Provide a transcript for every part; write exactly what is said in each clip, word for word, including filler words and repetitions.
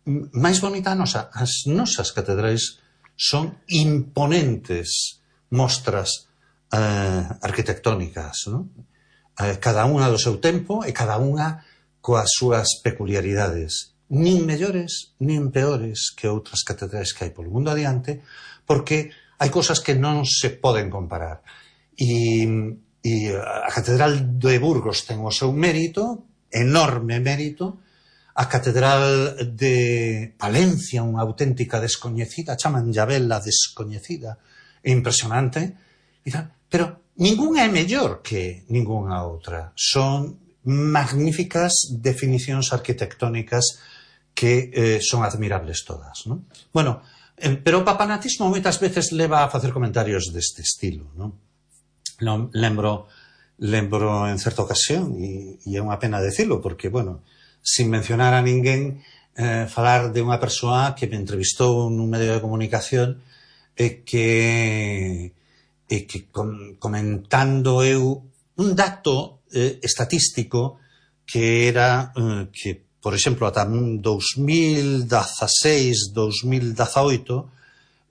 máis bonita a nosa. As nosas catedrais son imponentes mostras eh, arquitectónicas, non? Eh, cada unha do seu tempo e cada unha coas súas peculiaridades, nin mellores nin peores que outras catedrais que hai polo mundo adiante, porque hai cousas que non se poden comparar. E, e a Catedral de Burgos ten o seu mérito, enorme mérito. A Catedral de Palencia, unha auténtica descoñecida, chaman Llavela descoñecida, é impresionante, pero ninguna é mellor que ninguna outra. Son magníficas definicións arquitectónicas que eh, son admirables todas, non? Bueno, eh, pero o papanatismo moitas veces leva a facer comentarios deste estilo, non? Non lembro, lembro en certa ocasión, e, e é unha pena decirlo, porque, bueno, sin mencionar a ninguén, eh, falar de unha persoa que me entrevistou nun medio de comunicación e que, e que com, comentando eu un dato eh, estatístico que era eh, que, por exemplo, ata dos mil dezaseis, dos mil dezaoito,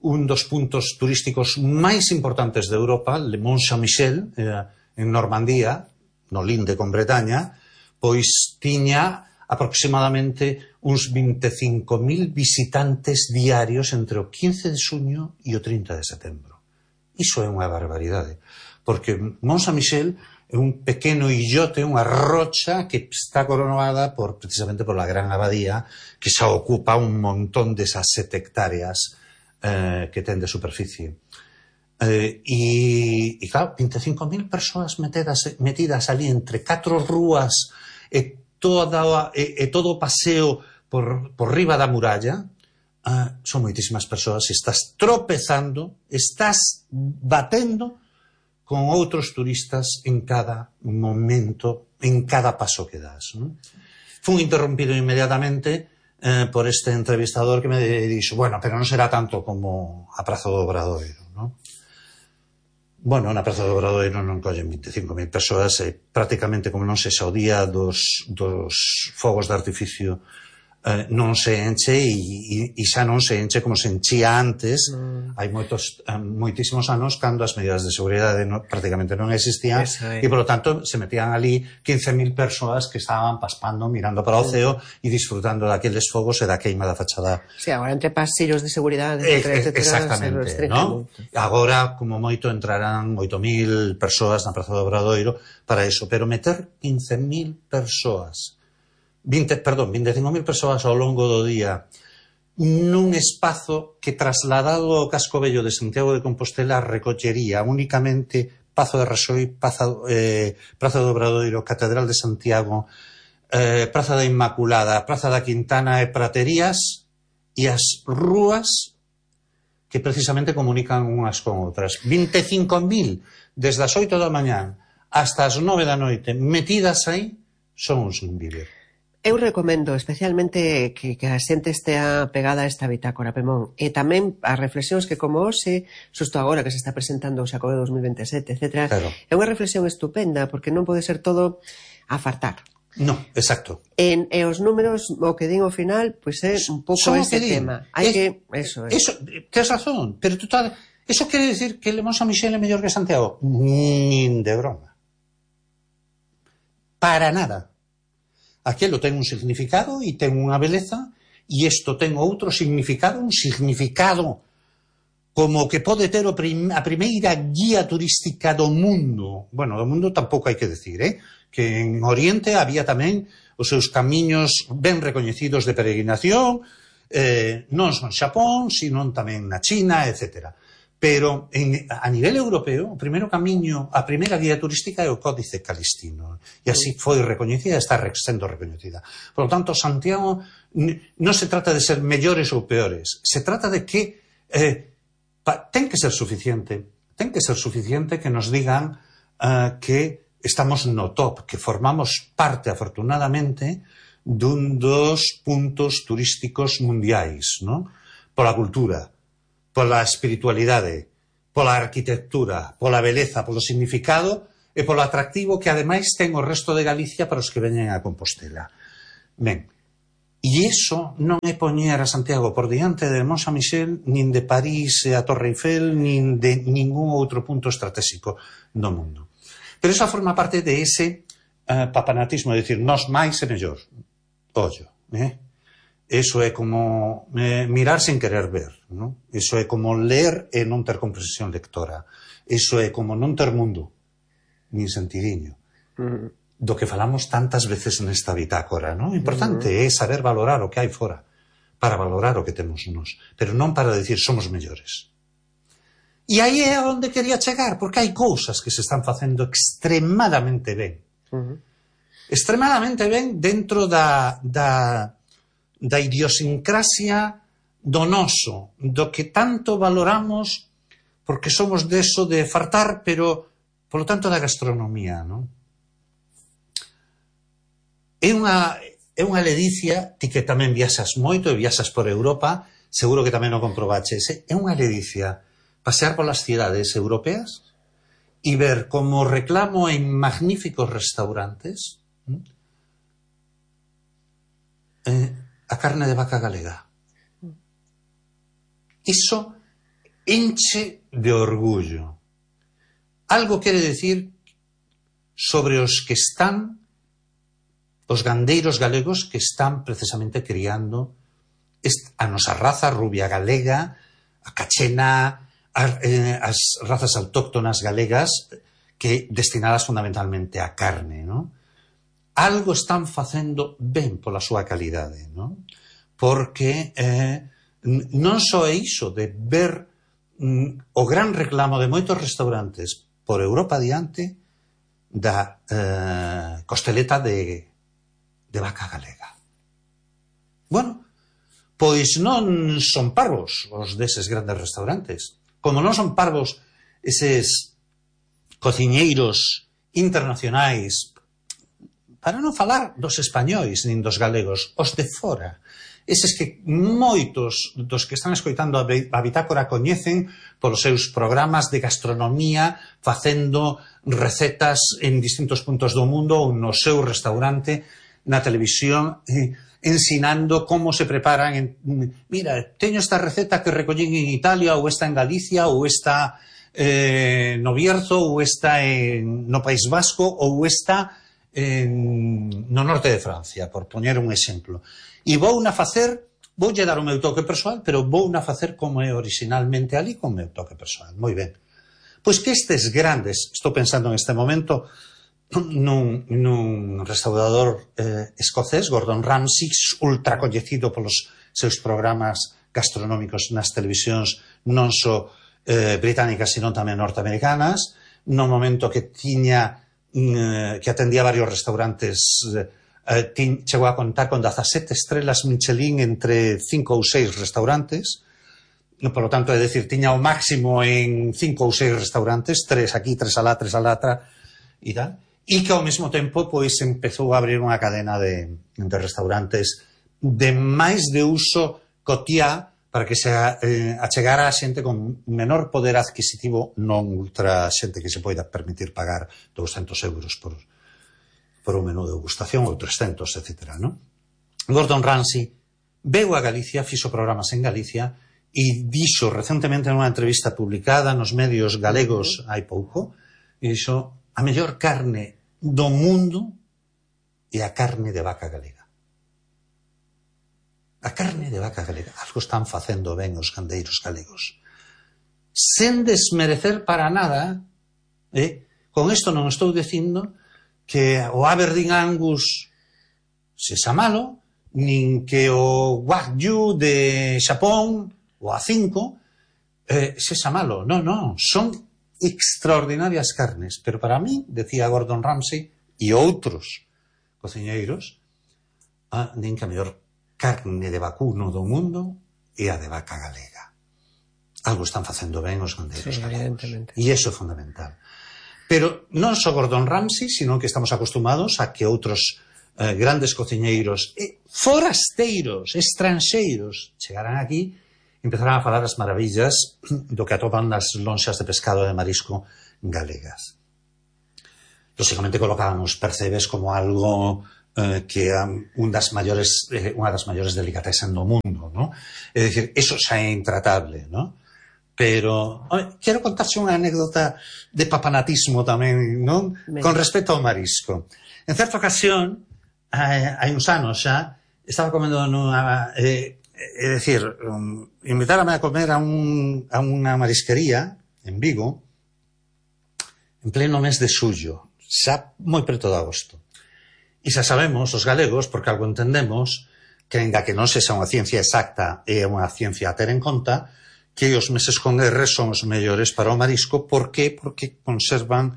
un dos puntos turísticos máis importantes de Europa, Le Mont Saint-Michel, eh, en Normandía, no linde con Bretaña, pois tiña aproximadamente uns vinte e cinco mil visitantes diarios entre o quince de xuño e o trinta de setembro. Iso é unha barbaridade, porque Mont Saint-Michel é un pequeno illote, unha rocha que está coronada por, precisamente por la gran abadía, que xa ocupa un montón desas sete hectáreas eh, que ten de superficie. Eh, e, e claro, vinte e cinco mil persoas metidas, metidas ali entre catro rúas e Toda, e, e todo o paseo por, por riba da muralla, uh, son moitísimas persoas, e estás tropezando, estás batendo con outros turistas en cada momento, en cada paso que das, non? Fun interrompido inmediatamente eh, por este entrevistador que me dixo, bueno, pero non será tanto como a Praza do Obradoiro, non? Bueno, na Praza do Obradoiro non collen vinte e cinco mil persoas e prácticamente como non sexa o día dos, dos fogos de artificio eh, non se enche e, e, e xa non se enche como se enchía antes. Mm. Hai moitos, eh, moitísimos anos cando as medidas de seguridade no, prácticamente non existían e, por lo tanto, se metían ali quince mil persoas que estaban paspando, mirando para o ceo mm. e disfrutando daqueles fogos e da queima da fachada. Sí, agora entre pasillos de seguridade, eh, etcétera, exactamente, ¿no? Agora, como moito, entrarán oito mil persoas na Praza do Obradoiro para iso, pero meter quince mil persoas vinte, perdón, vinte e cinco mil persoas ao longo do día nun espazo que trasladado ao casco vello de Santiago de Compostela recollería únicamente Pazo de Raxoi, Praza, eh, Praza do Obradoiro, Catedral de Santiago, eh, Praza da Inmaculada, Praza da Quintana e Praterías e as rúas que precisamente comunican unhas con outras. vinte e cinco mil desde as oito da mañán hasta as nove da noite metidas aí son uns sin vivir. Eu recomendo especialmente que, que a xente estea pegada a esta bitácora, Pemón, e tamén as reflexións que como hoxe, xusto agora que se está presentando o Xacobeo dos mil vinte e sete, etcétera, claro. É unha reflexión estupenda, porque non pode ser todo a fartar. No, exacto. En, e os números, o que din ao final, pois é un pouco ese tema. Hai es, que, eso, eso, tes razón, pero tú tal, eso quere decir que Le Mont Saint-Michel é mellor que Santiago? Nin de broma. Para nada. Aquelo ten un significado e ten unha beleza e isto ten outro significado, un significado como que pode ter o prim, a primeira guía turística do mundo. Bueno, do mundo tampouco hai que decir, eh? Que en Oriente había tamén os seus camiños ben recoñecidos de peregrinación, eh, non son Xapón, sino tamén na China, etcétera. Pero en, a nivel europeo, o primeiro camiño, a primeira guía turística é o Códice Calistino. E así foi recoñecida e está sendo recoñecida. Por lo tanto, Santiago non se trata de ser mellores ou peores. Se trata de que eh, pa, ten que ser suficiente. Ten que ser suficiente que nos digan uh, que estamos no top, que formamos parte, afortunadamente, dun dos puntos turísticos mundiais, ¿no? Pola cultura, pola espiritualidade, pola arquitectura, pola beleza, polo significado e polo atractivo que ademais ten o resto de Galicia para os que veñen a Compostela. Ben, E iso non é poñer a Santiago por diante de Mont Saint-Michel, nin de París e a Torre Eiffel, nin de ningún outro punto estratégico do mundo. Pero esa forma parte de ese uh, papanatismo, de decir, nós máis e mellor. Ollo, eh? Eso é como eh, mirar sen querer ver, ¿no? Eso é como ler e non ter comprensión lectora. Eso é como non ter mundo, nin sentidiño. Mm. Do que falamos tantas veces nesta bitácora, ¿no? O importante uh-huh. é saber valorar o que hai fora, para valorar o que temos nos, pero non para decir somos mellores. E aí é onde quería chegar, porque hai cousas que se están facendo extremadamente ben. Uh-huh. Extremadamente ben dentro da, da, da idiosincrasia do noso, do que tanto valoramos, porque somos deso de fartar, pero, polo tanto, da gastronomía, non? É unha, é unha ledicia, ti que tamén viaxas moito e viaxas por Europa, seguro que tamén o comprobaches, é unha ledicia pasear polas cidades europeas e ver como reclamo en magníficos restaurantes eh, a carne de vaca galega. Iso enche de orgullo. Algo quere decir sobre os que están os gandeiros galegos que están precisamente criando a nosa raza rubia galega, a cachena, a, eh, as razas autóctonas galegas que destinadas fundamentalmente á carne, ¿no? Algo están facendo ben pola súa calidade, ¿no? Porque eh, non só é iso de ver mm, o gran reclamo de moitos restaurantes por Europa adiante da eh, costeleta de de vaca galega. Bueno, pois non son parvos os deses grandes restaurantes. Como non son parvos eses cociñeiros internacionais, para non falar dos españois nin dos galegos, os de fora, eses que moitos dos que están escoitando a bitácora coñecen polos seus programas de gastronomía, facendo recetas en distintos puntos do mundo ou no seu restaurante na televisión, eh, ensinando como se preparan en, mira, teño esta receta que recollín en Italia, ou esta en Galicia, ou esta eh, no Bierzo, ou esta en, no País Vasco, ou esta en, no norte de Francia, por poñer un exemplo. E vou na facer, voulle dar o meu toque persoal, pero vou na facer como é originalmente ali, con o meu toque persoal. Moi ben. Pois que estes grandes, estou pensando en este momento nun, nun restaurador eh, escocés, Gordon Ramsay, ultra coñecido polos seus programas gastronómicos nas televisións non só eh, británicas, sino tamén norteamericanas, no momento que tiña eh, que atendía varios restaurantes, eh, tin, chegou a contar con dezasete estrelas Michelin entre cinco ou seis restaurantes, por lo tanto, é dicir, tiña o máximo en cinco ou seis restaurantes, tres aquí, tres alá, tres alá, e tal, e que ao mesmo tempo pois empezou a abrir unha cadena de, de restaurantes de máis de uso cotiá para que se eh, achegara a xente con menor poder adquisitivo, non ultra xente que se poida permitir pagar douscentos euros por, por un menú de degustación ou trescentos, etcétera, ¿no? Gordon Ramsay veu a Galicia, fixo programas en Galicia e dixo recentemente nunha entrevista publicada nos medios galegos hai pouco, e dixo, a mellor carne do mundo é a carne de vaca galega. A carne de vaca galega. Algo están facendo ben os gandeiros galegos. Sen desmerecer para nada, eh? Con isto non estou dicindo que o Aberdeen Angus sexa malo, nin que o Wagyu de Xapón, o A cinco, eh, sexa malo. Non, non, son extraordinarias carnes, pero para mí, decía Gordon Ramsay e outros cociñeiros, ah, nin que a mellor carne de vacuno do mundo é a de vaca galega. Algo están facendo ben os gandeiros sí, galegos. E iso é fundamental. Pero non só Gordon Ramsay, sino que estamos acostumados a que outros eh, grandes cociñeiros e forasteiros, estranxeiros, chegaran aquí e empezaran a falar as maravillas do que atopan nas lonxas de pescado e de marisco galegas. Lógicamente colocaban os percebes como algo eh, que é un das maiores, eh, unha das maiores delicatessen do mundo, ¿no? É dicir, eso xa é intratable, ¿no? Pero, oye, quero contarse unha anécdota de papanatismo tamén, non? Con respecto ao marisco. En certa ocasión, hai, hai uns anos xa, estaba comendo nunha... Eh, é dicir, um, invitarame a comer a, un, a unha marisquería en Vigo en pleno mes de xullo, xa moi preto de agosto. E xa sabemos, os galegos, porque algo entendemos, que ainda que non sexa unha ciencia exacta e unha ciencia a ter en conta, que os meses con R son os mellores para o marisco. Por que? Porque conservan,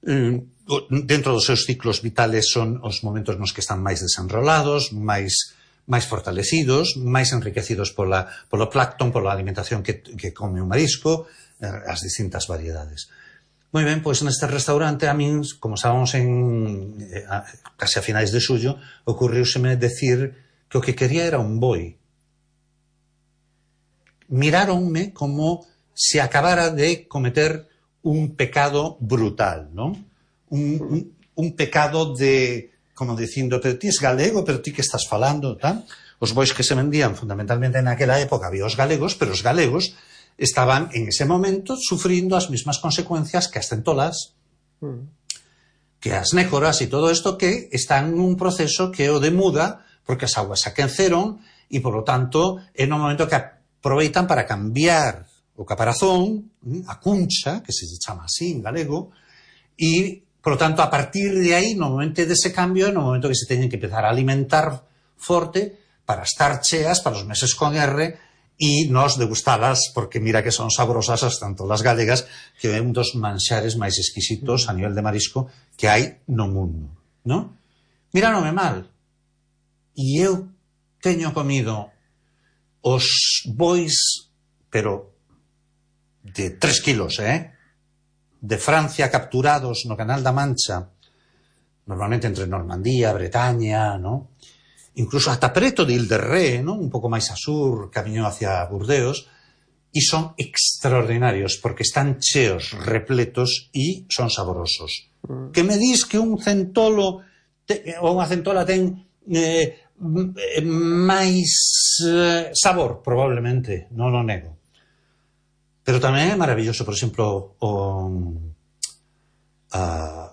eh, dentro dos seus ciclos vitales, son os momentos nos que están máis desenrolados, máis máis fortalecidos, máis enriquecidos pola, polo plancton, pola alimentación que, que come o marisco, as distintas variedades. Moi ben, pois neste restaurante, a min, como estábamos en eh, a, casi a finais de xullo, ocurriuseme decir que o que quería era un boi. Miráronme como se acabara de cometer un pecado brutal, non? Un, un, un pecado de... como dicindo, pero ti es galego, pero ti que estás falando, tal? Os bois que se vendían fundamentalmente naquela época había os galegos, pero os galegos estaban en ese momento sufrindo as mismas consecuencias que as centolas, mm. que as nécoras e todo isto, que están nun proceso que o de muda, porque as augas se aqueceron e, polo tanto, é no momento que aproveitan para cambiar o caparazón, a cuncha, que se chama así en galego, e por lo tanto, a partir de aí, no momento dese cambio, no momento que se teñen que empezar a alimentar forte para estar cheas para os meses con R e nos degustalas, porque mira que son saborosas as tanto las galegas, que é un dos manxares máis exquisitos a nivel de marisco que hai no mundo, non? Miráronme mal. E eu teño comido os bois, pero de tres kilos, eh? de Francia capturados no Canal da Mancha, normalmente entre Normandía, Bretaña, ¿no? Incluso ata preto de Ile-de-Ré, ¿no? Un pouco máis a sur, camiño hacia Burdeos, e son extraordinarios, porque están cheos, repletos, e son saborosos. Mm. Que me dis que un centolo, te, ou unha centola ten eh, máis eh, sabor? Probablemente, non o nego. Pero tamén é maravilloso, por exemplo, o... Uh,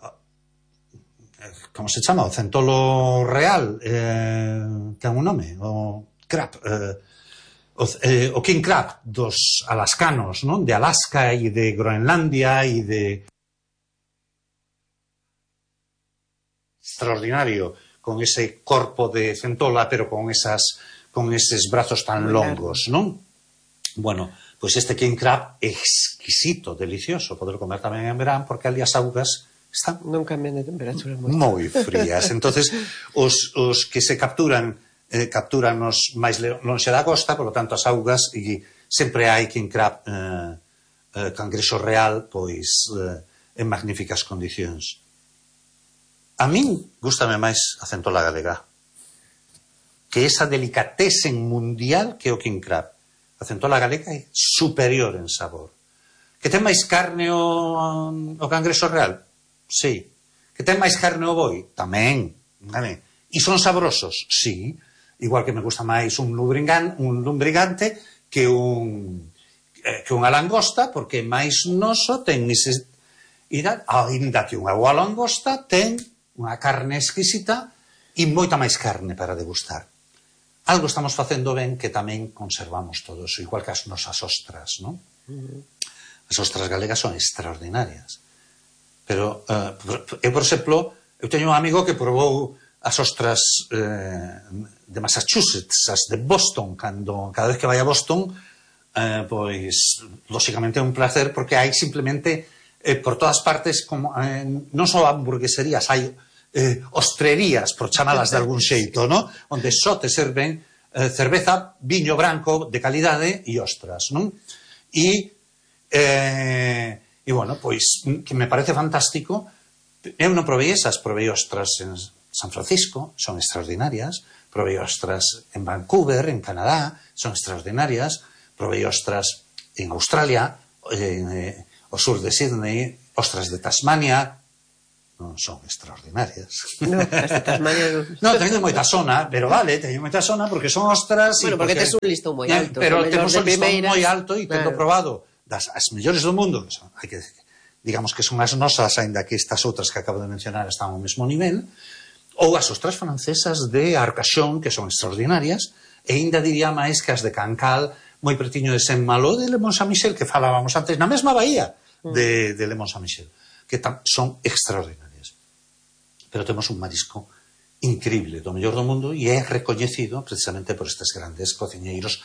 como se chama? O centolo real, eh, ten un nome, o crab, eh, o, eh, o king crab dos alascanos, non? De Alaska e de Groenlandia e de... Extraordinario, con ese corpo de centola, pero con esas, con eses brazos tan longos, non? Bueno... Pois este king crab é exquisito, delicioso, poder comer tamén en verán, porque ali as augas están non cambian de temperatura moito. moi frías. Entonces, os, os que se capturan eh, capturan os máis lonxe da costa, por lo tanto as augas, e sempre hai king crab eh, eh, cangrexo real, pois eh, en magníficas condicións. A min gústame máis a centola galega, que esa delicatessen mundial que o king crab. A centola galega é superior en sabor. Que ten máis carne o, o cangrexo real? Sí. Que ten máis carne o boi? Tamén. Tamén. E son saborosos? Sí. Igual que me gusta máis un lumbrigante, un lumbrigante que un eh, que unha langosta, porque máis noso ten ese... Ainda que unha boa langosta ten unha carne exquisita e moita máis carne para degustar. Algo estamos facendo ben que tamén conservamos todo eso, igual que as nosas ostras, non? As ostras galegas son extraordinarias. Pero, uh, eu, por exemplo, eu teño un amigo que probou as ostras eh, de Massachusetts, as de Boston, cando, cada vez que vai a Boston, eh, pois, lóxicamente é un placer, porque hai simplemente, eh, por todas partes, como, eh, non só hamburgueserías, hai Eh, ostrerías, por chamalas de algún xeito, ¿no? Onde só te serven eh, cerveza, viño branco de calidade e ostras, non? E, eh, e bueno, pois, que me parece fantástico. Eu non provei esas, provei ostras en San Francisco, son extraordinarias, provei ostras en Vancouver, en Canadá, son extraordinarias, provei ostras en Australia, en eh, o sur de Sydney, ostras de Tasmania, non son extraordinarias. No, as de Tasmania non. No, teñen moita sona, pero vale, teñen moita sona porque son ostras... Bueno, porque, porque tes un listón moi alto. Pero temos un listón moi alto e tendo claro. probado das as mellores do mundo, que son, hai que decir, digamos que son as nosas, aínda que estas outras que acabo de mencionar están ao mesmo nivel, ou as ostras francesas de Arcachon, que son extraordinarias, e ainda diría máis que as de Cancale, moi pretiño de Saint-Malo de Le Mont-Saint-Michel, que falábamos antes, na mesma bahía de, de Le Mont-Saint-Michel, que tam, son extraordinarias. Pero temos un marisco increíble do mellor do mundo e é recoñecido precisamente por estes grandes cociñeiros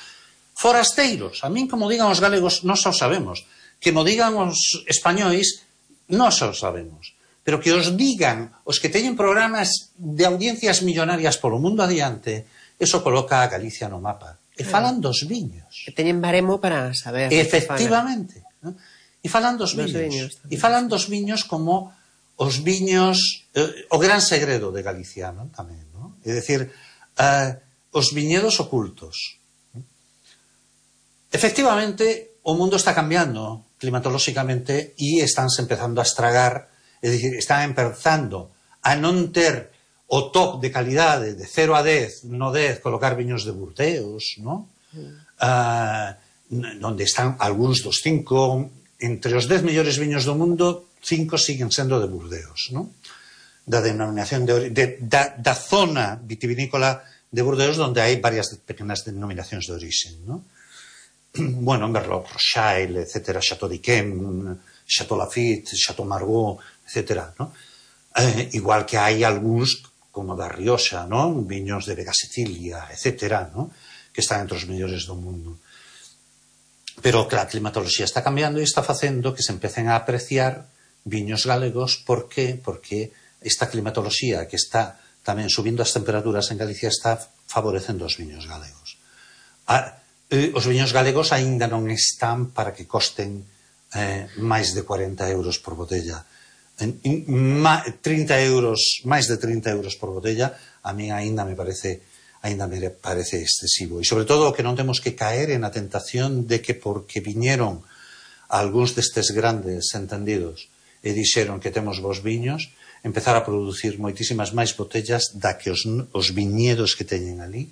forasteiros. A min, como digan os galegos, nós o sabemos. Que mo digan os españois, nós o sabemos. Pero que os digan os que teñen programas de audiencias millonarias polo mundo adiante, eso coloca a Galicia no mapa. E falan dos viños. Que teñen baremo para saber. Efectivamente. ¿No? E falan dos viños. viños e falan dos viños como os viños, eh, o gran segredo de Galicia, ¿no? Tamén, ¿no? É dicir, eh, os viñedos ocultos. Efectivamente, o mundo está cambiando climatolóxicamente e estánse empezando a estragar, é dicir, están empezando a non ter o top de calidade de cero a dez, no dez, colocar viños de Burdeos, ¿no? Mm. Uh, onde están algúns dos cinco, entre os dez mellores viños do mundo, cinco siguen sendo de Burdeos, ¿no? Da denominación de, de da, da zona vitivinícola de Burdeos, donde hai varias pequenas denominacións de origen, ¿no? Bueno, Merlot, Rothschild, etcétera, Chateau d'Yquem, Chateau Lafite, Chateau Margaux, etcétera, ¿no? Eh, igual que hai algúns como da Rioxa, ¿no? Viños de Vega Sicilia, etcétera, ¿no? Que están entre os mellores do mundo. Pero que a climatoloxía está cambiando e está facendo que se empecen a apreciar viños galegos. Por que? Porque esta climatoloxía que está tamén subindo as temperaturas en Galicia está favorecendo os viños galegos. A, eh, os viños galegos aínda non están para que costen eh, máis de cuarenta euros por botella. En, in, ma, trinta euros, máis de trinta euros por botella, a mí aínda me parece aínda me parece excesivo. E sobre todo que non temos que caer en a tentación de que porque viñeron algúns destes grandes entendidos e dixeron que temos bons viños, empezar a producir moitísimas máis botellas da que os, os viñedos que teñen ali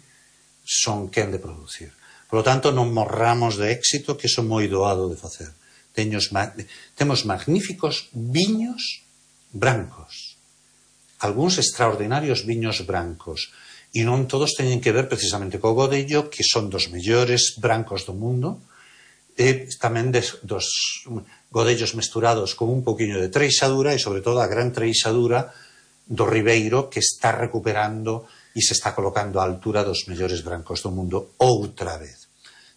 son quen de producir. Por lo tanto, non morramos de éxito, que iso moi doado de facer. Teños, temos magníficos viños brancos, algúns extraordinarios viños brancos, e non todos teñen que ver precisamente co Godello, que son dos mellores brancos do mundo, e tamén des, dos godellos mesturados con un poquinho de treixadura e sobre todo a gran treixadura do Ribeiro, que está recuperando e se está colocando á altura dos mellores brancos do mundo outra vez.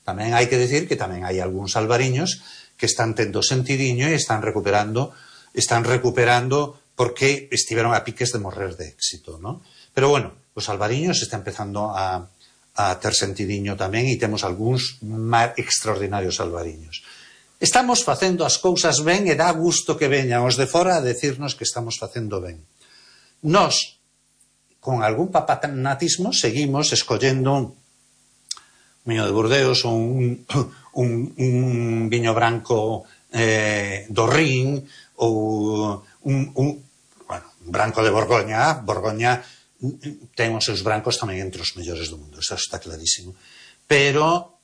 Tamén hai que decir que tamén hai algúns albariños que están tendo sentidiño e están recuperando están recuperando porque estiveron a piques de morrer de éxito, ¿no? Pero bueno, os albariños está empezando a a ter sentidiño tamén e temos algúns extraordinarios albariños. Estamos facendo as cousas ben e dá gusto que veñan os de fora a decirnos que estamos facendo ben. Nós, con algún papanatismo, seguimos escollendo un viño de Burdeos ou un, un, un viño branco eh, do Rin ou un, un, bueno, un branco de Borgoña. Borgoña ten os seus brancos tamén entre os mellores do mundo, eso está clarísimo. Pero,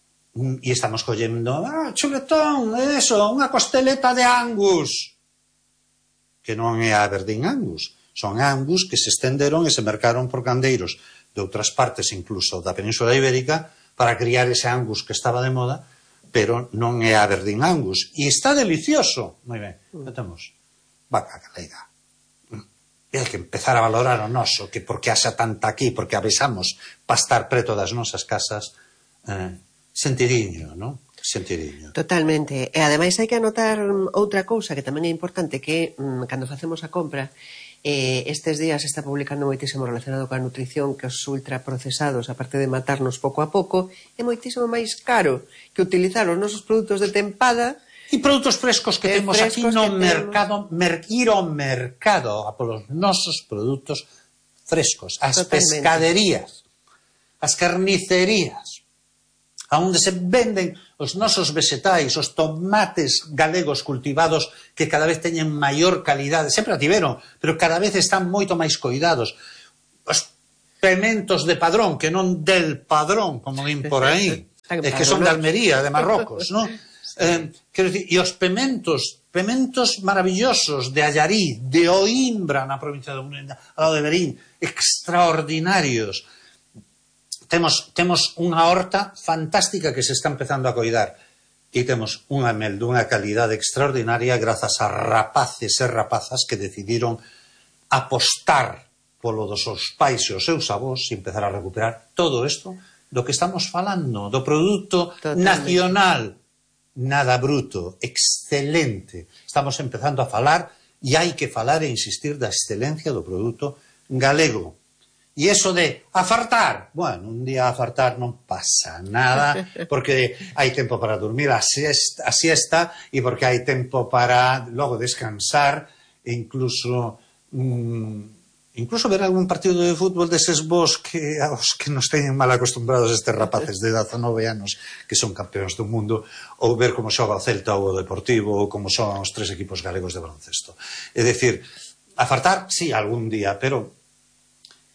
e estamos collendo, ah, chuletón, eso, unha costeleta de Angus, que non é a Aberdeen Angus, son Angus que se estenderon e se mercaron por gandeiros de outras partes, incluso da Península Ibérica, para criar ese Angus que estaba de moda, pero non é a Aberdeen Angus. E está delicioso. Moi ben, mm. temos vaca galega. E hai que empezar a valorar o noso, que porque haxa tanta aquí, porque avisamos para estar preto das nosas casas, eh, sentidiño, non? Sentidiño. Totalmente. E ademais hai que anotar outra cousa que tamén é importante, que mm, cando facemos a compra, eh, estes días se está publicando moitísimo relacionado coa nutrición, que os ultraprocesados, aparte de matarnos pouco a pouco, é moitísimo máis caro que utilizar os nosos produtos de tempada. E produtos frescos que temos aquí no mercado, mer, ir ao mercado a polos nosos produtos frescos, as pescaderías, as carnicerías, onde se venden os nosos vegetais, os tomates galegos cultivados que cada vez teñen maior calidade, sempre a tiveron, pero cada vez están moito máis coidados. Os pementos de Padrón, que non del Padrón, como din por aí, é que son de Almería, de Marrocos, non? Eh, quero dicir, e os pementos, pementos maravillosos de Allariz, de Oimbra, na provincia de Oimbra, ao de Verín, extraordinarios. Temos, temos unha horta fantástica que se está empezando a coidar e temos unha mel dunha calidade extraordinaria grazas a rapaces e rapazas que decidiron apostar polo dos seus pais e os seus avós e empezar a recuperar todo isto do que estamos falando, do produto Totalmente. Nacional. Nada bruto, excelente. Estamos empezando a falar e hai que falar e insistir da excelencia do produto galego. E eso de afartar, bueno, un día afartar non pasa nada, porque hai tempo para dormir a siesta, a siesta e porque hai tempo para logo descansar e incluso mmm, incluso ver algún partido de fútbol deses vos que aos que nos teñen mal acostumbrados estes rapaces de dezanove anos que son campeóns do mundo, ou ver como xoga o Celta ou o Deportivo ou como son os tres equipos galegos de baloncesto. É dicir, afartar, sí, algún día, pero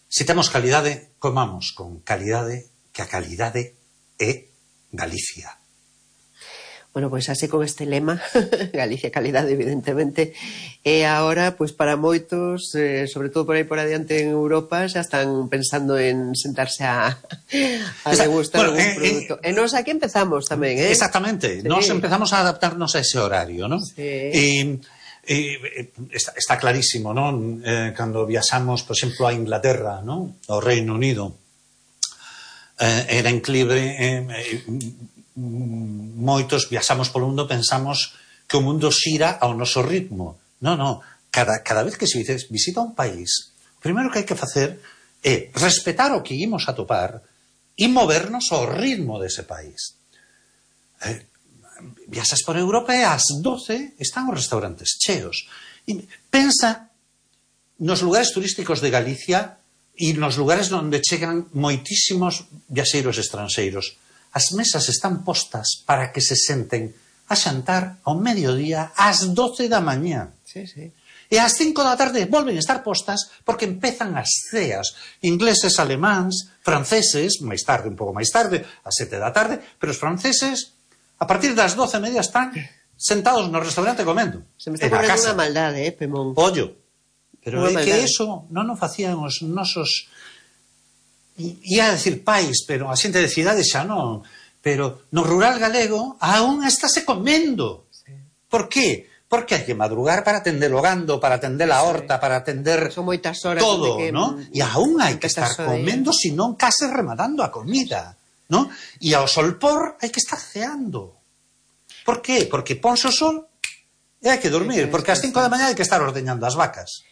se temos calidade, comamos con calidade, que a calidade é Galicia. Bueno, pois así con este lema, Galicia calidade, evidentemente, e agora, pois para moitos, eh, sobre todo por aí por adiante en Europa, xa están pensando en sentarse a, a degustar bueno, algún eh, produto. Eh, e nos aquí empezamos tamén, eh? Exactamente, sí. Nos empezamos a adaptarnos a ese horario, non? Sí. E, e, está, está clarísimo, non? Eh, cando viaxamos, por exemplo, a Inglaterra, non? Ao Reino Unido, eh, era inclible... Eh, eh, moitos viaxamos polo mundo, pensamos que o mundo xira ao noso ritmo. Non, non, cada, cada vez que se visita un país, o primeiro que hai que facer é respetar o que imos a topar e movernos ao ritmo dese país. Eh, viaxas por Europa e ás doce están os restaurantes cheos. E pensa nos lugares turísticos de Galicia e nos lugares onde chegan moitísimos viaxeiros estranxeiros. As mesas están postas para que se senten a xantar ao mediodía ás doce da mañá. Sí, sí. E ás cinco da tarde volven a estar postas porque empezan as ceas. Ingleses, alemáns, franceses, máis tarde, un pouco máis tarde, ás sete da tarde, pero os franceses, a partir das doce e media están sentados no restaurante comendo. Se me está correndo unha maldade, eh, Pemón. Ollo, pero é que eso non o facían os nosos... Ia a decir pais, pero a xente de cidade xa non. Pero no rural galego aún estáse comendo. Sí. Por qué? Porque hai que madrugar para atender o gando, para atender a horta, sí. Para atender son moitas horas todo, que... ¿no? E aún hai que estar comendo, se non case rematando a comida, ¿no? E ao solpor hai que estar ceando. Por qué? Porque ponse o sol e hai que dormir, porque ás cinco da mañá hai que estar ordeñando as vacas.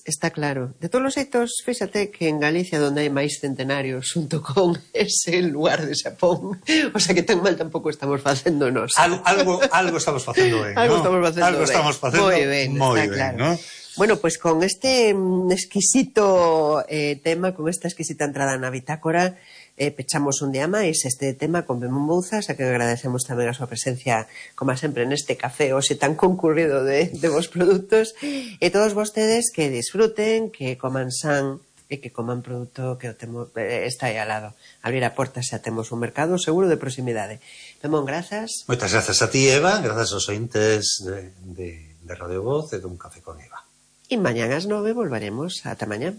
Está claro. De todos os xeitos, fíxate que en Galicia, onde hai máis centenarios xunto con ese lugar de Xapón, o sea que tan mal tampouco estamos facendo nos. Algo, algo, algo estamos facendo ben, algo ¿no? Estamos facendo algo ben. estamos facendo moi ben, moi está ben, claro. ¿no? Bueno, pues con este exquisito eh, tema, con esta exquisita entrada na bitácora, eh, pechamos un día máis este tema con Pemón Bouzas, a que agradecemos tamén a súa presencia, como sempre, neste café hoxe tan concurrido de, de vos produtos, e todos vostedes que disfruten, que coman san e que coman produto que o temo, eh, está aí al lado. Abrir a porta xa temos un mercado seguro de proximidade. Pemón, grazas. Moitas grazas a ti, Eva, grazas aos ointes de, de, de Radio Voz e dun café con Eva. E mañán ás nove volveremos. Ata mañán.